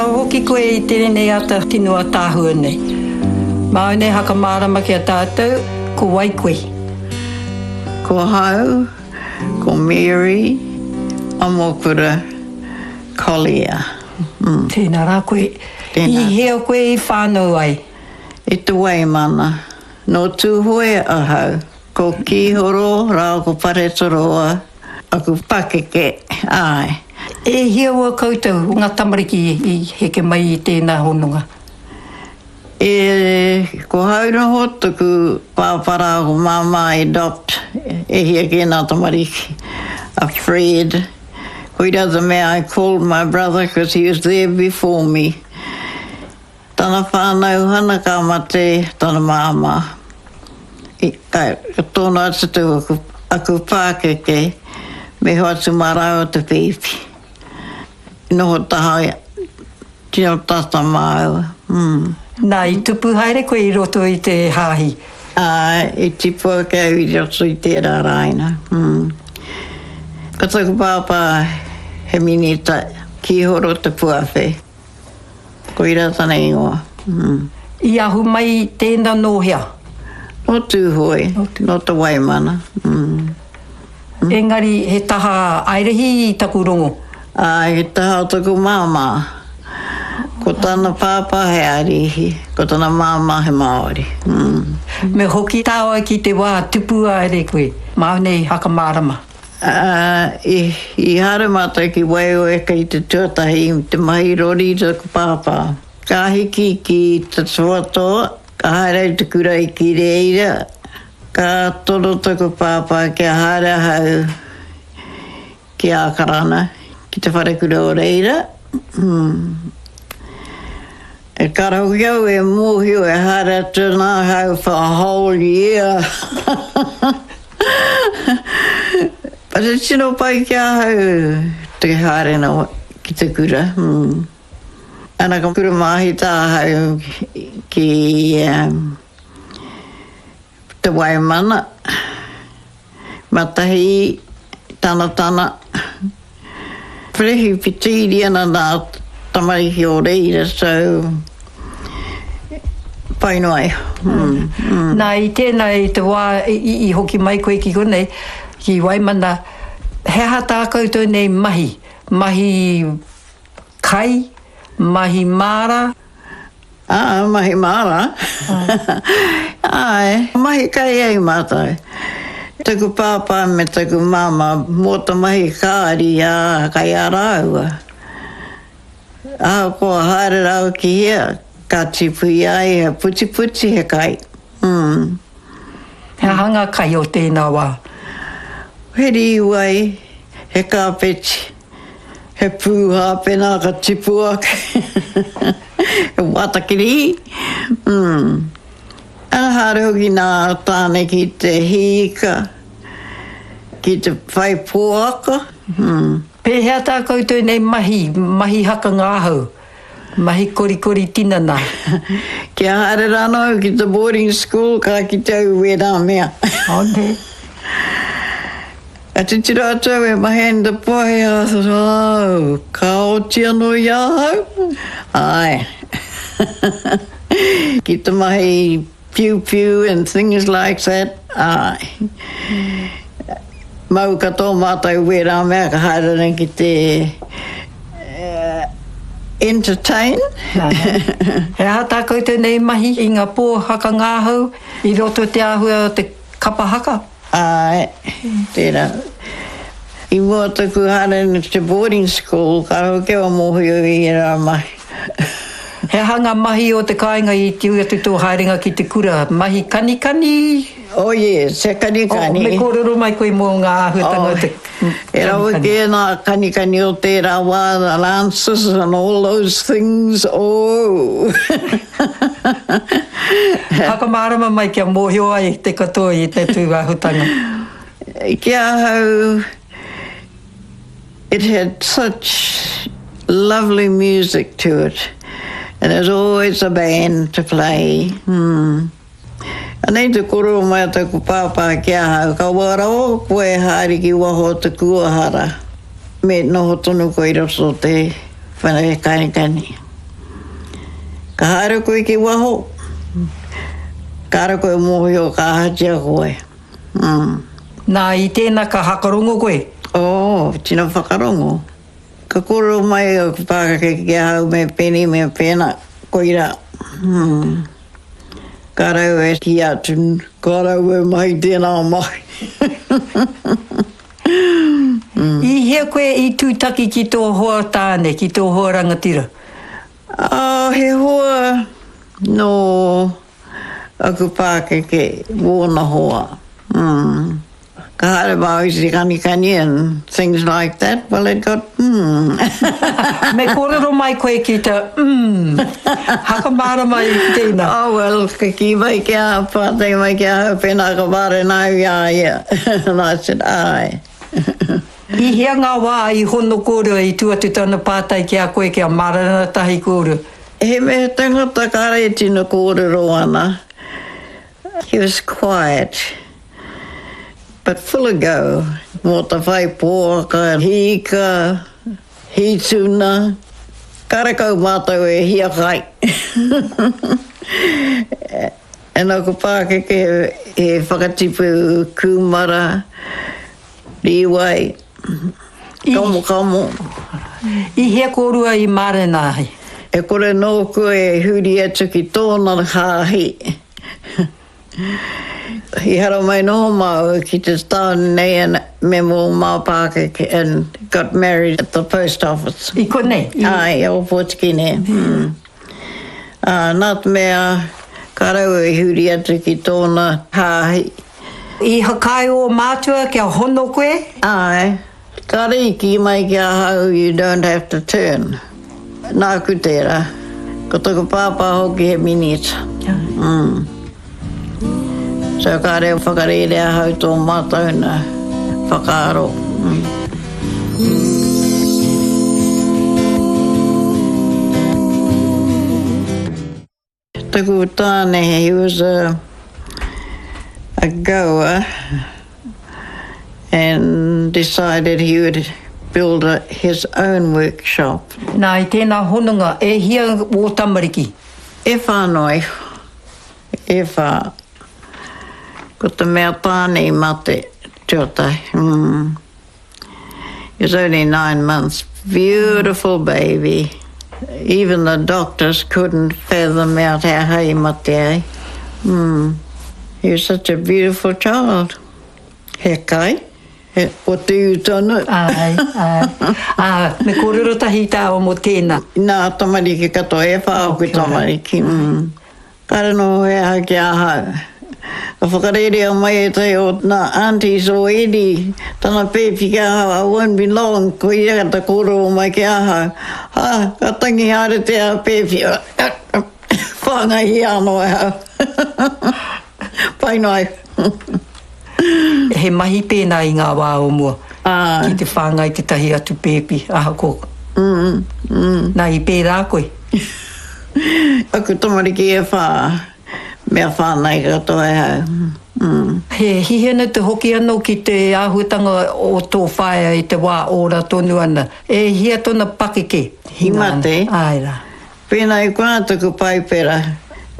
Hoki koe i tēnei ata tino ataahua nei. Māu nei hakamārama ki a tātou, ko wai koe? Ko ahau, ko Mary Amokura Collier. Tēnā rā koe. Tēnā. I hea koe i whānau ai? I Te Waimana. Nō Tūhoe ahau. Ko Kīhoro rāua ko Paretoroa. Aku pakeke, āe. E hia ua koutou, nga tamariki i heke mai i tēnā hononga? E, ko hau noho taku pāpara ko māmā i adopt e hia kē nā tamariki, a Fred. Koira the mea I called my brother cause he was there before me. Tana whānau hana ka mate tana māmā. I, ka, ka tōna atu te aku, aku pākeke me hoatu mā rāua te pēpi. Noho taha tino tata māua. Mm. Nā, i tupu haere koe i roto i te hāhi? Āe, i tipu ake au i roto i tērā rāina. Mm. Ko taku pāpā he minita kīhoro te puawhe. Koirā tana ingoa. I ahu mai tēnā nō hea? Nō Tūhoe, nō Te Waimana. Engari he taha Airihi i taku rongo? Āe, he taha o taku māmā. Ko tana pāpā he Airihi, ko tana māmā he Māori. Me hoki tāua ki te wā tupu haere koe, māu nei whakamārama. Ā, i haere mātou ki Waioeka i te tuatahi i te mahi rori i taku pāpā. Ka hiki ki Te Toatoa, ka haere au te kura i ki reira, ka tono taku pāpā kia haere ahau ki Ākarana, ki te wharekura o reira. E kara hoki au e mōhio e haere atu ana ahau for a whole year. But e tino pai ki ahau te haere na ki te kura. Ana ka kura māhita ahau ki Te Waimana, Matahi, Tanatana, Perehipitīri ana nā tamariki o reira, so pai noa iho. Nā, i tēnā, i te wā i hoki mai koe ki konei, ki Waimana, he aha tā koutou nei mahi? Mahi kai, mahi māra? Ā, mahi māra. Āe, mahi kai ai mātou. Taku pāpā me taku māmā mō te mahi kāri, ā, kai a rāua. Ahakoa haere rāua ki hea, ka tipu i a ia he putiputi, he kai. Mm. He aha ngā kai o tēnā wā? He rīwai, he kāpeti. He pūhā pēnā ka tipu ake. He wātakiri. Mm. Ana haere hoki nā tāne ki te hīka, ki te whai poaka. Mm. Pēhea tā koutou nei mahi, mahi haka ngahau, mahi korikori tinana? Kia haere rānō au ki te boarding school ka kite au i wērā mea. Oh, nē. Ka titiro atu au e mahi ana te pohe, oh, ka oti anō i ahau? Āe. Ki te mahi piupiu and things like that, āe. Mau katoa mātou wērā mea ka haere ana ki te entertain. He aha tā koutou nei mahi i ngā pō hakangāhau i roto te āhua o te kapa haka? Āe, tērā. I mua taku haere ki te boarding school, ka hoki au mōhio i ērā mahi. He aha ngā mahi o te kāinga i tiu atu tō haerenga ki te kura? Mahi kanikani? Oh yes, he kanikani. Oh, me kōrero mai koe mō ngā āhuatanga o te kanikani. E rawe kē ngā kanikani o tērā wā, the lancers and all those things, oh! Whakamārama mai kia mōhio ai te katoa i te tūāhutanga. Ki ahau, it had such lovely music to it and there's always a band to play. Mm. Anei te kōrero mai a taku pāpā ki ahau, kaua rawa koe e haere ki waho o te kuahara, me noho tonu koe i roto o te whare kanikani. Ka haere koe ki waho, kāre koe mōhio ka ahatia koe. Mm. Nā, i tēnā ka hakarongo koe? Oh, tino whakarongo. Ka kōrero mai aku pākeke ki ahau me pēnei me pēnā, koirā. Mm. Ka rau e kī atu, ka rau e mahi tēnā mahi. I hea koe i tūtaki ki tō hoa tāne, ki tō hoa rangatira? Ā, he hoa nō aku pākeke wōna hoa. Mm. Ka haere māu i te kanikani and things like that, well it got mm. Me kōrero mai koe ki te mm. Hakamārama i tēnā. Oh well, ka kī mai ki a, pātai mai ki ahau pēnā ka mārena au i a ia. And I said, āe. I hea ngā wā i hono kōrua i tū atu tana pātai ki a koe kia mārena tahi kōrua? He mea tangata kāre e tino kōrero ana. He was quiet but full of go mō te whai pōaka, hī ika, hī tuna, karekau mātou e hiakai. And aku pākeke he whakatipu kūmara, rīwai, kamokamo. I hea kōrua i mārena ai? E kore nōku e huri atu ki tōna hāhi. I haramai noho māua ki te tāone nei and me mō mā pākeke and got married at the post office. I konei? Āe, i Ōpōtiki nei. Ā, nā te mea ka raua i huri atu ki tōna hāhi. I whakaae ō mātua kia hono koe? Āe. Kāre i kī mai ki ahau you don't have to turn. Nāku tērā. Ko taku pāpā hoki he minita. Mm. So kāre i whakarērea ahau tō mātou nā whakaaro. Mm. Taku tāne, he was a, a goer and decided he would build a, his own workshop. Nā, i tēnā hononga, e hia wō tamariki? E whā noa iho. E whā. Ko te mea tāne i mate tuatahi. Mm. He was only nine months. Beautiful baby. Even the doctors couldn't fathom out how he mate ai. Mm. He was such a beautiful child. He kai, he o te ū tonu. Āe, āe. Ā, me kōrero tahi tāua mō tēnā. Nā tamariki katoa, e whā ōku tamariki. Mm. Kāre noho he aha ki ahau. Ka whakarērea mai ētahi o nā aunties o Eddie tana pēpi ki ahau, I won't be long, ko ia ka kōrero mai ki ahau. Ha, ka tangi haere te pēpi, whāngaihia anō e ahau. Pai noa iho. He mahi pēnā i ngā wā o mua, ki te whāngai tētahi atu pēpi, ahakoa. Nā, i pērā koe? Aku tamariki e whā, mea whāngai katoa e hau. He hihena te hoki anō ki te āhuatanga o tō whaea i te wā ora tonu ana. E hia tona pakeke? I mate. Āe rā. Pēnā i konā taku paipera,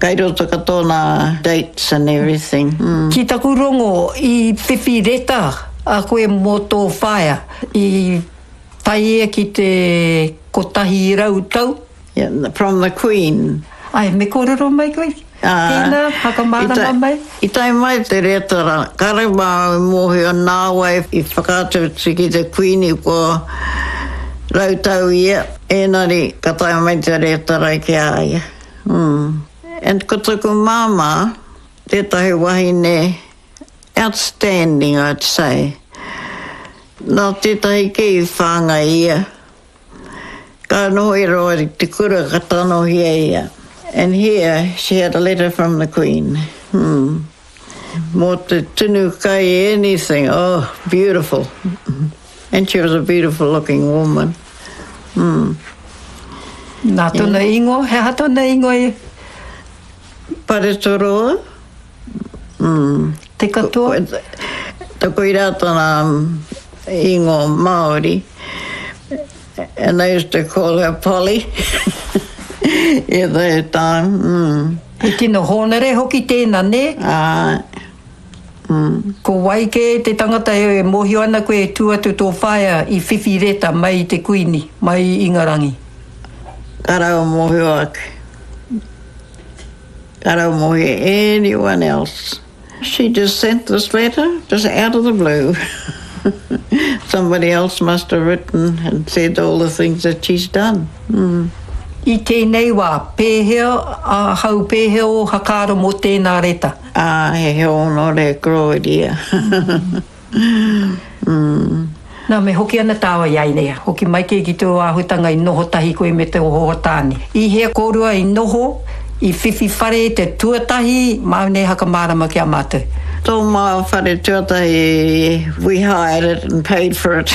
kai roto katoa nā dates and everything. Ki taku rongo, i whiwhi reta a koe mō tō whaea, i tae ia ki te 100 tau? Yeah, from the Queen. Ae, me kōrero mai koe? Tēnā, whakamārama mai. I tae mai te reta rā, kāre māu i mōhio nāwai i whakaatu atu ki te Kuini kua rautau ia, ēnari ka tae mai te reta rā ki a ia. Mm. And ko taku māmā, tētahi wahine outstanding I'd say. Nā tētahi kē i whāngai ia. Ka noho i roa i te kura ka tanohia ia. And here she had a letter from the Queen. Hmm. Mō te tunu kai anything, oh, beautiful. And she was a beautiful looking woman. Hmm. Nā tōna ingoa, he aha tōna ingoa e? Paretoroa. Mm. Te katoa? Koirā tana ingoa Māori. And they used to call her Polly. At that time, mm. He tino hōnore hoki tēnā, nē? Āe. Mm. Ko wai kē te tangata e mōhio ana koe e tū atu tō whaea i whiwhi reta mai i te Kuini, mai i Ingarangi? Ka rau mōhio ake. Ka rau mōhio anyone else. She just sent this letter, just out of the blue. Somebody else must have written and said all the things that she's done. Mm. I tēnei wā, pēhea ahau, pēhea ō whakaaro mō tēnā reta? Ā, he hōnore kororia. Mm. Nā, me hoki ana tāua i a ia. Hoki mai kē ki tō āhuatanga i noho tahi koe me tō hoa tāne. I hea kōrua i noho, i whiwhi whare te tuatahi, māu nei hakamārama ki a mātou. Tō māua whare tuatahi, we hired it and paid for it.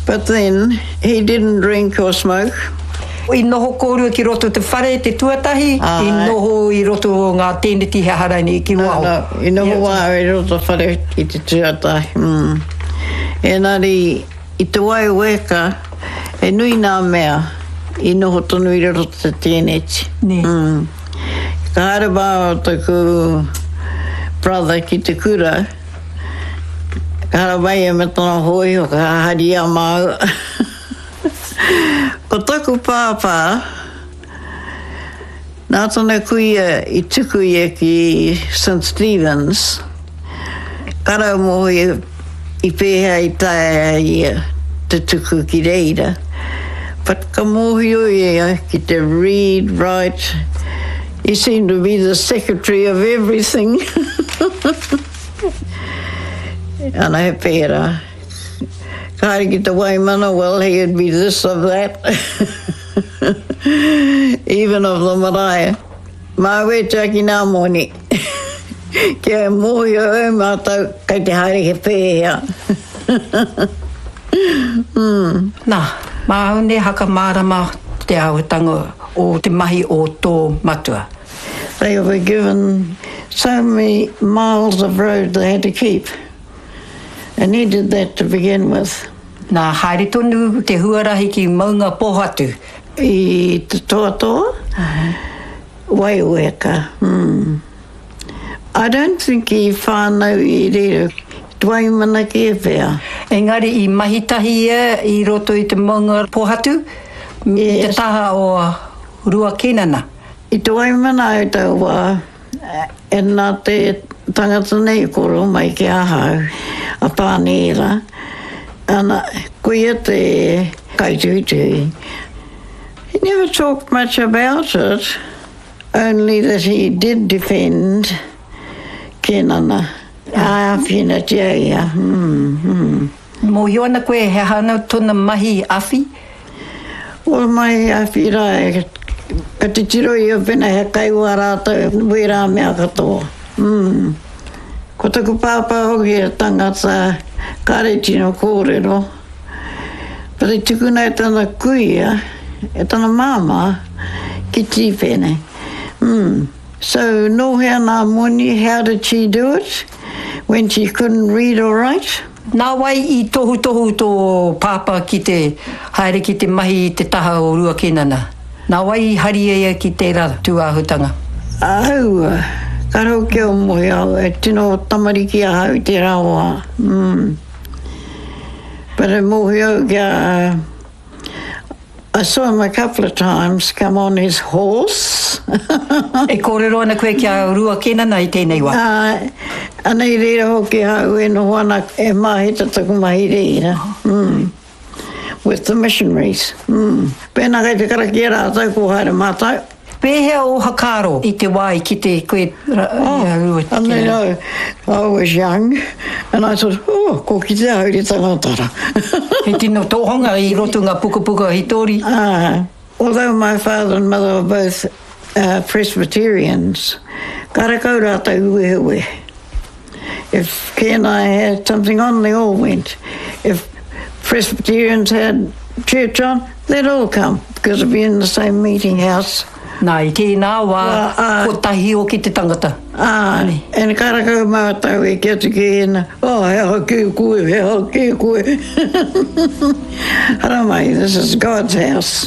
But then, he didn't drink or smoke. I noho kōrua ki roto te whare te tuatahi, i noho i roto o ngā tēneti he aha rainei ki waho? No, no, i noho wā i roto whare i te tuatahi. Mm. Engari, i te wai weka, he nui nā mea i noho tonu i roto te tēneti. Nē. Mm. Ka haere māua taku brother ki te kura, Ka haramai ia me tana hōiho, ka hari i a māua. Ko taku pāpā, nā tana kuia i tuku ia ki St Stephen's, ka rau mōhio i pēhea i taea ia te tuku ki reira. But ka mōhio ia ki te read, write, he seemed to be the secretary of everything. Ana he pērā. Ka haere ki te Waimana, well, he would be this of that, even of the marae. Māu e tiaki nā moni, kia mōhio ai mātou kei te haere he pēhea. Nā, māu nei hakamārama te āhuatanga o te mahi o tō matua. They were given so many miles of road they had to keep and he did that to begin with. Nā, haere tonu te huarahi ki Maungapōhatu. I te toatoa, Waiweka, mm. I don't think i whānau i reira, i Waimana kē pea. Engari i mahi tahi ia i roto i te Maungapōhatu, i te taha o Rua Kenana. I te Waimana au taua wā, e nā te tangata nei i kōrero mai ki ahau, a Pānīra, ana, ko ia te kaituhituhi. He never talked much about it, only that he did defend Kenana. Āwhinatia ia, mm, mm. Mōhio ana koe he aha ana tona mahi awhi? Well mahi awhi ra e ka titiro ia pena he kai wā rātou wērā mea katoa. Mm. Ko taku pāpā hoki he tangata kāre tino kōrero, but i tukuna e tana kuia, e tana māmā ki Tīpene. Mm. So nō hea nā moni, how did she do it when she couldn't read or write? Nā wai i tohutohu tō pāpā ki te haere ki te mahi i te taha o Rua Kenana? Nā wai i hari ia ki tērā tūāhutanga? Aua, ka rau kia moe au, e tino tamariki ahau i tērā wā. Mm. But e mōhio au kia I saw him a couple of times come on his horse. E kōrero ana koe ki a Rua Kenana i tēnei wā? Āe, ana i reira hoki ahau e noho ana, e māhita taku mahi reira, mm, with the missionaries, mm. Pēnā kei te karakia rātou, kua haere mātou. Pēhea ō whakaaro i te wā i kite koe i a Rua Kenana? I mean, I, I was young and I thought, oh, ko kite ahau i te tangata ra. He tino tohunga i roto ngā pukapuka hitori. Ā, although my father and mother were both uh, Presbyterians, karekau rātou i wehewehe. If Ken and I had something on, they all went. If Presbyterians had church on, they'd all come because it'd be in the same meeting house. Nā, i tēnā wā, kotahi hoki te tangata. Āe, and karakau mātou e ki atu ki ēnā, oh, he aha kē koe, he aha kē koe. Haramai, this is God's house.